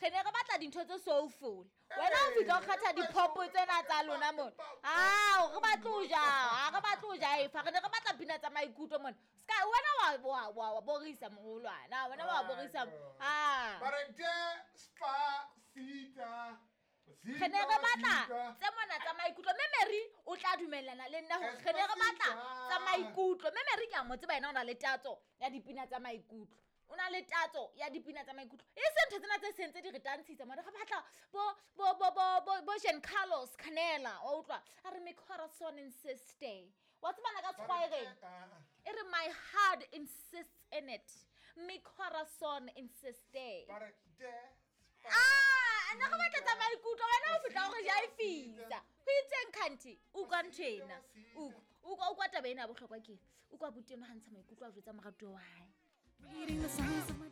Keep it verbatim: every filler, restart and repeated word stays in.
Re ne re batla dintho tse soulful. Wena o fihla o kgetha di-pop tsena tsa lona mona. Ao, re batle ho ja, ha re batle ho jaefa. Re ne re batla pina tsa maikutlo mona. Ska wena wa wa wa wa borisa moholwana. Wena wa borisa. Ah. Ba re despacito. Re ne re batla tse mona tsa maikutlo, mme Mary o tla dumellana le nna hore re ne re batla tsa maikutlo. Mme Mary ke a mo tseba, yena o na le tatso ya dipina tsa maikutlo, o na le tatso ya dipina tsa maikutlo, e se ntho tsena tse seng tse di re tantshitsa mona. Re batla bo bo bo bo bo bo Jean Carlos Canela, wa utlwa a re, "Mi corazón insiste." Wa tsebana ka Sekgowa e reng? E re, "My heart insists in it." Mi corazón insiste. Ba re Ah, nna re batla tsa maikutlo, wena o fihla hore jaefisa ho itseng khanti. Utlwa ntho ena, utlwa utlwa utlwa taba ena ya bohlokwa ke utlwa buti eno ha ntsha maikutlo a jwetsa moratuwa wa hae. Reading the signs of my